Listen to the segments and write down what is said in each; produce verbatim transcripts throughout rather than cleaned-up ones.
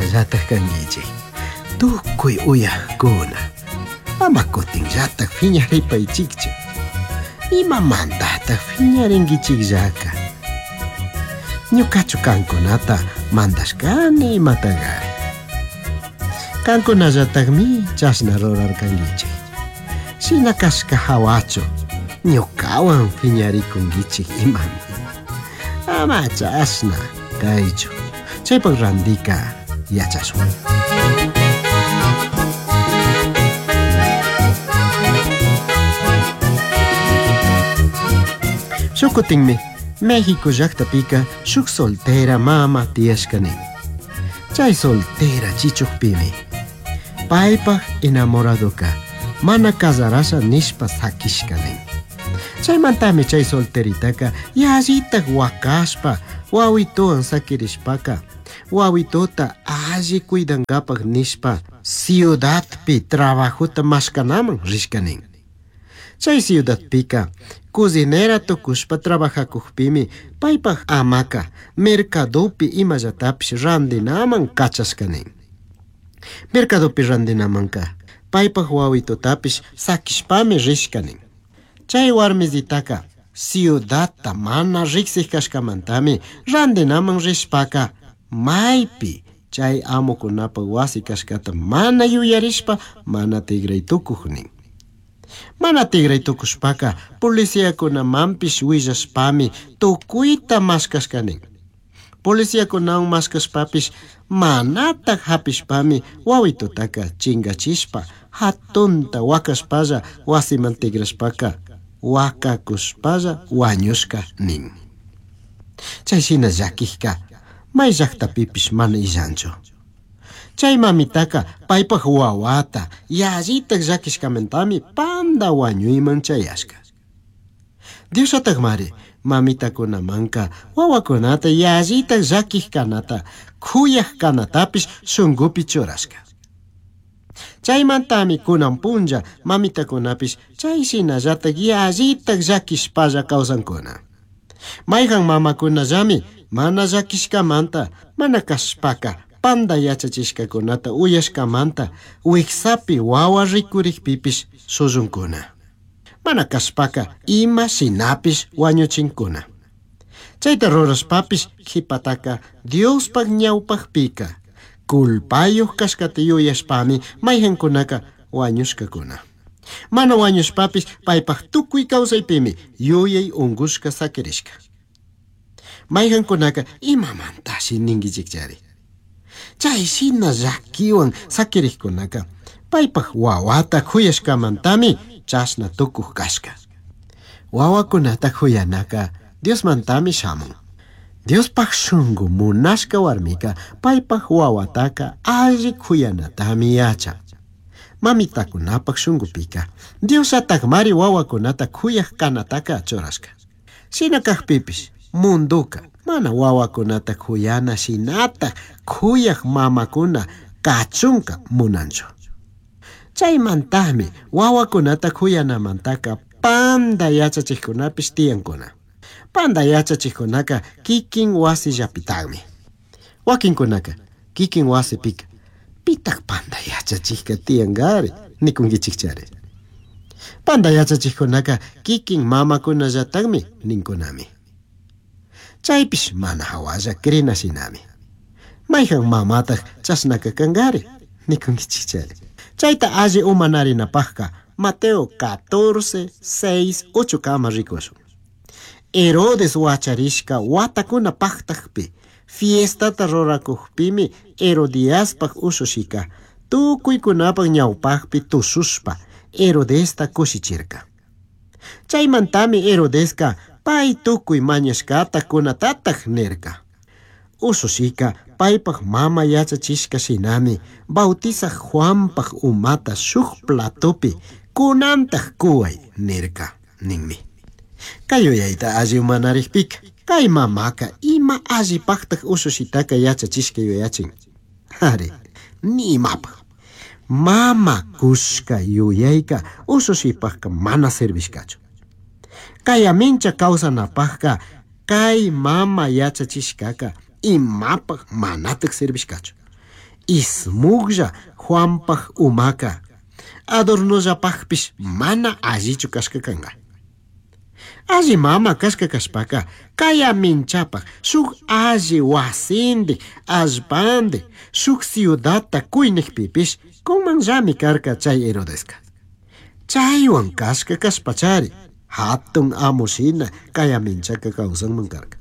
shinallataj kankichik. Tukuy uyajkuna, ama kutinllataj phiñaripaychikchu. Imamantataj phiñarinkichikllaka? Ñukachu kankunata mandashkani imatagari. Kankunallatajmi chashna rurarkankichik. Shina kashka hawachu ñukawan phiñarikunkichik imami. Ama chashna kaychu. Chaypak randika yachashun. Shukutinmi México llaqtapika shuk soltera mama tiyashkani. Chay soltera chichukpimi paypaj enamoradoka mana casarasha nishpa sakishkani. Chaymantami chay solteritaka yallitaj wakashpa wawituwan sakirishpaka wawituta alli cuidankapaj nishpa ciudadpi trabajota mashkanaman rishkanin. Chay ciudadpika cocinera tukushpa trabajakujpimi paypaj amaka mercadopi imallatapish randinaman kachashkanin. Mercadopi randinamanka paypaj wawitutapish sakishpami rishkanin. Chay warmizitaka ciudadta mana riksik kashkamantami randinaman rishpaka maypi chay amukunapaj wasi kashkata mana yuyarishpa mana tigray tukuj nin. Mana tigray tukushpaka policiakunamanpish willashpami tukuyta mashkashkanin. Policiakunawan mashkashpapish manataj hapishpami wawitutaka chingachishpa hatunta wakashpalla wasiman tigrashpaka wakakushpalla wañushka nin. Chay shina llakijka may llaqtapipish mana illanchu. Chay mamitaka paypaj wawata yallitaj llakishkamantami panda wañuyman chayashka. Diosllatakmari mamitakunamanka wawakunata yallitaj llakij kanata kuyaj kanatapish shunkupi churashka. Chaymantami kunan punlla mamitakunapish chay shinallataj yallitaj llakishpalla kawsankuna. Mayqan mamakunallami mana llakishkamanta mana kashpaka panda yachachishkakunata uyashkamanta wiksapi wawa rikurikpipish sullunkuna. Mana kashpaka ima shinapish wañuchinkuna. Chayta rurashpapish qhipataka Diospaj ñawpajpika culpayuq kashkata yuyashpami mayqankunaka wañushkakuna. Mana wañushpapish paypaj tukuy kawsaypimi yuyay unqushka sakirishka. Mayqankunaka imamantashi ninkichikchari. Chay shina llakiwan sakirikkunaka paypaj wawata khuyashkamantami chashna tukuj kashka. Wawakunata khuyanaka Diosmantami shamun. Diospaj shunku munashka warmika paypaj wawataka alli khuyanatami yachan. Mamitakunapaj shunkupika Diosllatakmari wawakunata khuyaj kanataka churashka. Shina kajpipish munduka mana wawakunata khuyana shinataj khuyaj mamakuna kachunka munanchu. Chaymantami wawakunata khuyanamantaka panda yachachikkunapish tiyankuna. Panda yachachikkunaka kikin wasillapitaqmi. Wakinkunaka kikin wasipika pitaq panda yachachikka tiyankari nikunkichikchari. Panda yachachikkunaka kikin mamakunallataqmi ninkunami. Chaypish mana hawalla krina shinami. Mayqan mamataq chashnaka kankari nikunkichikchari. Chayta alli umanarinapajka Mateo catorce, seis, ocho kama rikushun. Herodes wacharishka watakuna paktakpi fiestata rurakujpimi Herodiaspaj ushushika tukuykunapaj ñawpajpi tushushpa Herodesta kushichirka. Chaymantami Herodeska pay tukuy mañashkata kunatataj nirka. Ushushika paypaj mama yachachishka shinami bautizaj Juanpaj umata shuk platopi kunantaj kuway nirka ninmi. Kay yuyayta alli umanarikpika kay mamaka ima allipajtaj ushushitaka yachachishka yuyachin. Ari, ni imapaj. Mama kushka yuyayka ushushipajka mana servishkachu. Kay amincha kawsanapajka kay mama yachachishkaka imapaj manataj servishkachu. Ismuglla Juanpaj umaka adornollapajpish mana allichu kashka kanka. Alli mama kashka kashpaka kaya minchapaj shuk alli wasindi allpandi shuk ciudadta kuynikpipish kunmanllami karka chay Herodeska. Chaywan kashka kashpachari hatun amushina kaya minchaka kawsanman karka.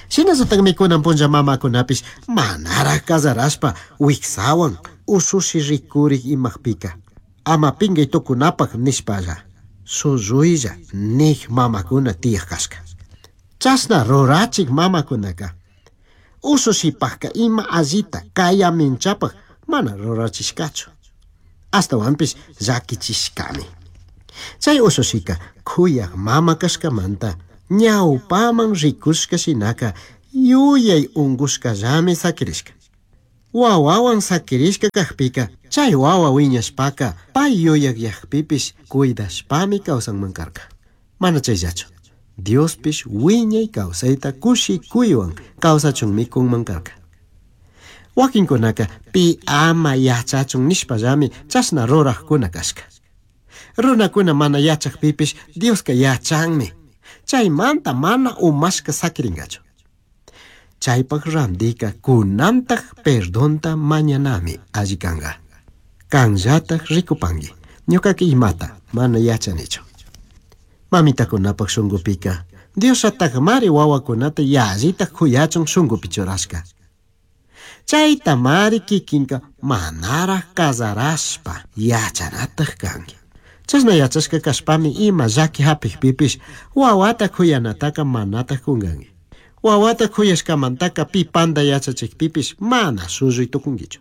Shinallatakmi kunan punlla mamakunapish manaraj kazarashpa wiksawan ushushi rikurik imajpika ama pingay tukunapaj nishpalla shuyuylla nik mamakuna tiyaj kashka. Chashna rurachik mamakunaka ushushipajka ima allita kaya minchapaj mana rurachishkachu. Ashtawanpish llakichishkami. Chay ushushika kuyaj mama kashkamanta ñawpaman rikushka shinaka yuyay unkushkallami sakirishka. Wawawan sakirishka kajpika chay wawa wiñashpaka pay yuyakyajpipish cuidashpami kawsanman karka. Mana chayllachu, Diospish wiñay kawsayta kushikuywan kawsachunmi kunman karka. Wakinkunaka pi ama yachachun nishpallami chashna rurajkuna kashka. Runakuna mana yachajpipish Dioska yachanmi. Chaymanta mana umashka sakirinkachu. Chaypaj randika kunantaj perdonta mañanami alli kanka. Kanllataj rikupanki. Ñukaka imata mana yachanichu. Mamitakunapaj shunqupika Diosllatakmari wawakunata yallitaj kuyachun shunqupi churashka. Chayta mari kikinka manaraj kazarashpa yachanataj kanki. Chashna yachashka kashpami ima llaki hapikpipish wawata kuyanataka manataj kunkanki. Wawata kuyashkamantaka pi panda yachachikpipish mana shulluy tukunkichu.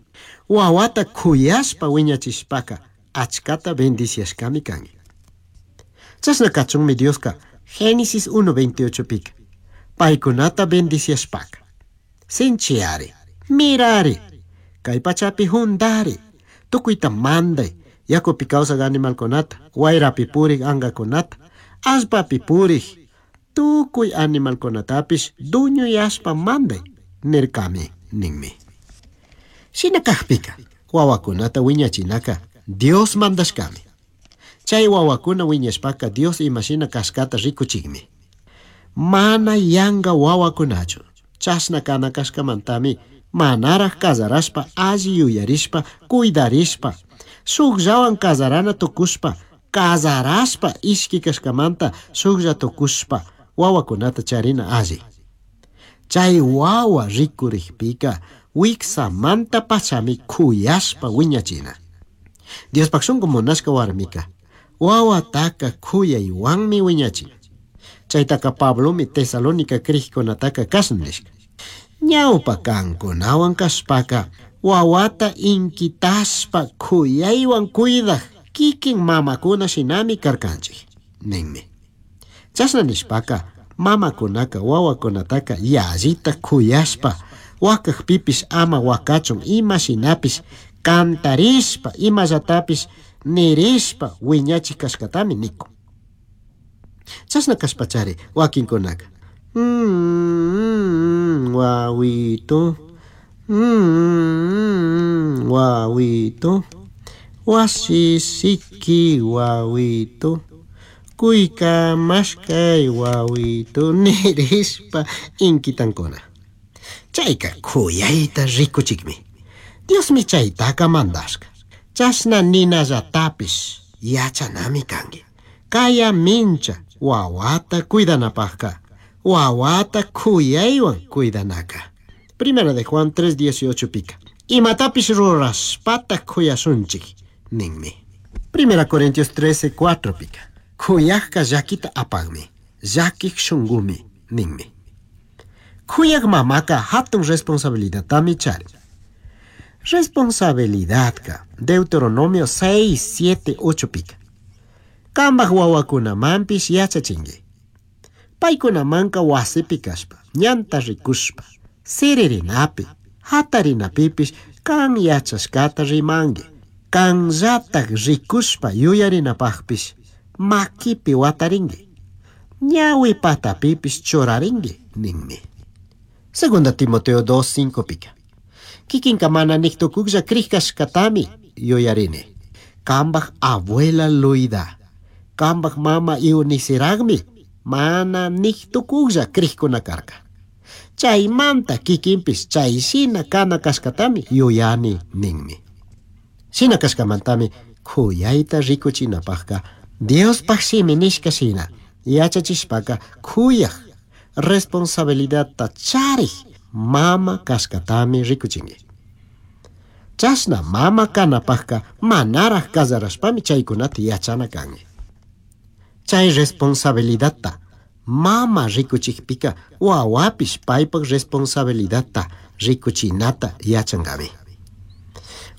Wawata kuyashpa wiñachishpaka achkata bendiciashkami kanki. Chashna kachunmi Dioska Génesis uno veintiocho pika paykunata bendiciashpaka sinchiyari, mirari, kay pachapi hundari, tukuyta manday, yakupi kawsaq animalkunata, wayrapi purik angakunata, allpapi purik tukuy animalkunatapish duñuyashpa manday nirkami ninmi. Shina kajpika wawakunata wiñachinaka Dios mandashkami. Chay wawakuna wiñashpaka Dios imashina kashkata rikuchikmi. Mana yanka wawakunachu chashna kana kashkamantami manaraj kazarashpa alli yuyarishpa cuidarishpa shukllawan kazarana tukushpa kazarashpa ishki kashkamanta shuklla tukushpa wawakunata charina alli. Chay wawa rikurikpika wiksamanta pachami kuyashpa wiñachina. Diospaj shunku munashka warmika wawataka kuyaywanmi wiñachin. Chaytaka Pablomi Tesalónica krikkunataka kashna nishka. Ñawpa kankunawan kashpaka wawata inkitashpa kuyaywan cuidaj kikin mamakuna shinami karkanchik ninmi. Chashna nishpaka mamakunaka wawakunataka yallita kuyashpa wakajpipish ama wakachun ima shinapish kantarishpa imallatapish nirishpa wiñachik kashkatami nikun. Chashna kashpachari wakinkunaka mm, wawito, mm, wawito, wasisiki wawito, kuykamashkay wawito nirishpa inkitankuna. Chayka kuyayta rikuchikmi. Diosmi chaytaka mandashka. Chashna ninallatapish yachanami kanki. Kaya mincha wawata cuidanapajka wawata kuyaywan cuidanaka. Primera de Juan tres dieciocho pika. Imatapish rurashpata kuyashunchik ninmi. Primera Corintios trece cuatro pika. Kuyajka llakita apagmi, llakik shungumi ninmi. Kuyaj mamaka hatun responsabilidadtami charin. Responsabilidadka Deuteronomio seis, siete, ocho pika. Kambaj wawakunamanpish yachachinki. Paykunamanka wasipi kashpa, ñanta rikushpa, siririnapi, hatarinapipish kan yachashkata rimanki. Kanllatak rikushpa yuyarinapajpish makipi watarinki. Ñawi patapipish churarinki ninmi. Segunda Timoteo dos, cinco pika. Kikinka mana nik tukuklla krij kashkatami yuyarini. Kambaj abuela Luida, kambaj mama Euniceragmi mana nik tukuklla krijkuna karka. Chaymanta kikinpish chay shina kana kashkatami yuyani ninmi. Shina kashkamantami kuyayta rikuchinapajka Diospaj shimi nishka shina yachachishpaka kuyaj responsabilidadta charij mama kashkatami rikuchinki. Chashna mama kanapajka manaraj casarashpami chaykunata yachana kanki. Chay responsabilidadta mama rikuchikpika wawapish paypaj responsabilidadta rikuchinata yachankami.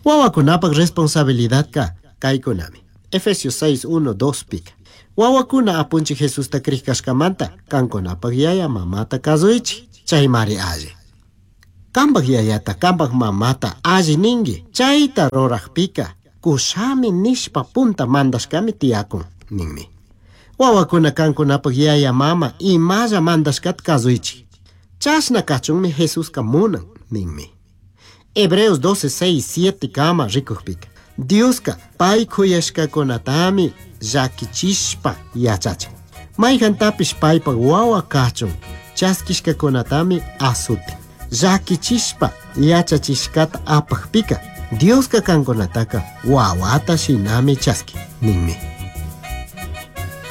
Wawakunapaj responsabilidadka kaykunami. Efesios seis, uno, dos pika. Wawakuna apunchik Jesusta krij kashkamanta kankunapaj yaya mamata kasuychik, chaymari alli. Kambaj yayata, kambaj mamata alli ninki, chayta rurajpika kushami nishpa punta mandashkami tiyakun ninmi. Wawakuna kankunapaj yaya mama imalla mandashkata kasuychik, chashna kachunmi Jesuska munan ninmi. Hebreos doce, seis, siete kama rikujpika Dioska pay kuyashkakunatami llakichishpa yachachin. Mayjantapish paypaj wawa kachun chaskishkakunatami asutin. Llakichishpa yachachishkata apajpika Dioska kankunataka wawata shinami chaskin ninmi.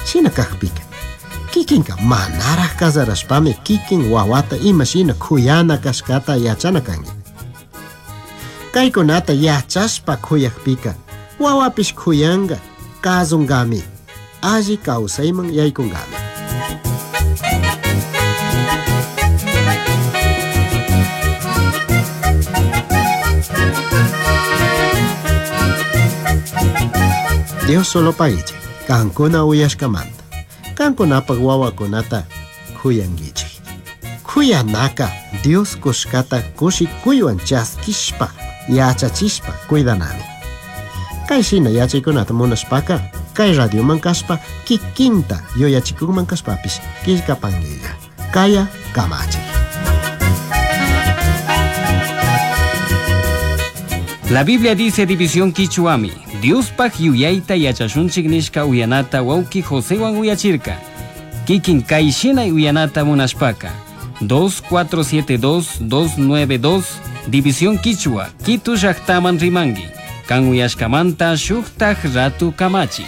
Shina kajpika kikinka manaraj casarashpami kikin wawata ima shina kuyana kashkata yachana kanki. Kaykunata yachashpa kuyajpika wawapish kuyanka kasunkami alli kawsayman yaykunkami. Dios solo paguichik kankuna uyashkamanta. Kankunapaj wawakunata kuyankichik. Kuyanaka Dios kushkata kushikuywan chaskishpa yachachishpa cuidanami. Kay shina yachaykunata munashpaka kay radioman kashpa kikinta yuyachikukman kashpapish killkapankilla. Kaya kamachik. La Biblia dice división Quichuami, Diospaj yuyayta yachashunchik nishka uyanata wawki Josewan uyachirka. Kikin kayshina uyanata munashpaka. dos cuatro siete dos, dos nueve dos, División Quichua, Quito llaktaman rimangi. Kan uyashkamanta shuktaj ratu kamachi.